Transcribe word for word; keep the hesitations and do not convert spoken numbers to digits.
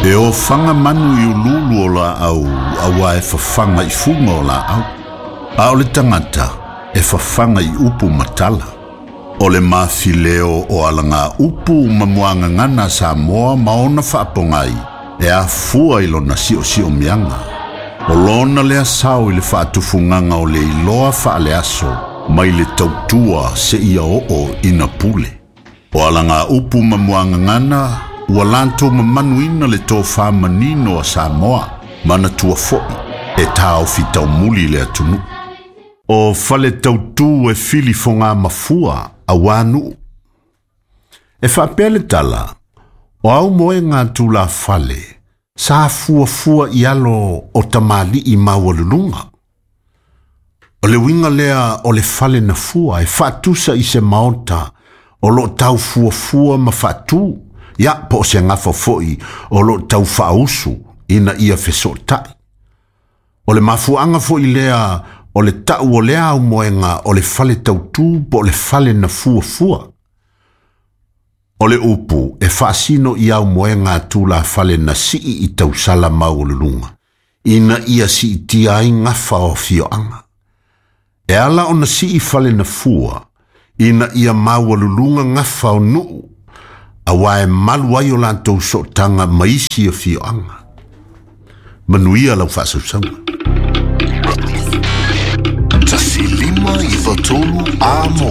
E ofaga manu i ululu o laau auā e fafaga i fuga o laau. A o le tagata e fafaga i upu ma tala. O le mafileo o alaga upu ma muagagana Samoa ma ona faapogai e afua i lona siosiomiaga. O lona lea sao i le faatufugaga o le iloa faaleaso mai le tautua seia oo ina pule. O alaga upu ma muagagana ua latou mamanuina le tofā manino a Samoa manatua foʻi e taofi taumuli le atunuu. O fale tautū e fili fogā mafua auā nuu. E faapea le tala, o aumoega a tulafale, sa fuafua i alo o tamalii maualuluga. O le uiga lea o le fale na fua e faatusa i se maota o loo tau fuafua ma faatū, ia po o se gafa foʻi o loo tau faausu ina ia fesootaʻi. O le mafuaaga foʻi lea o le taʻu o lea aumoega o le fale tautū po o le fale na fuafua. O le upu e faasino i aumoega a tulafale na sii i tausala maualuluga, ina ia siitia ai gafa o afioaga. E ala ona sii fale na fua, ina ia maualuluga gafa o nuu, auā e malu ai o latou sootaga ma isi afioaga. Manuia lau faasausauga. Tasi lima iva tolu Amo.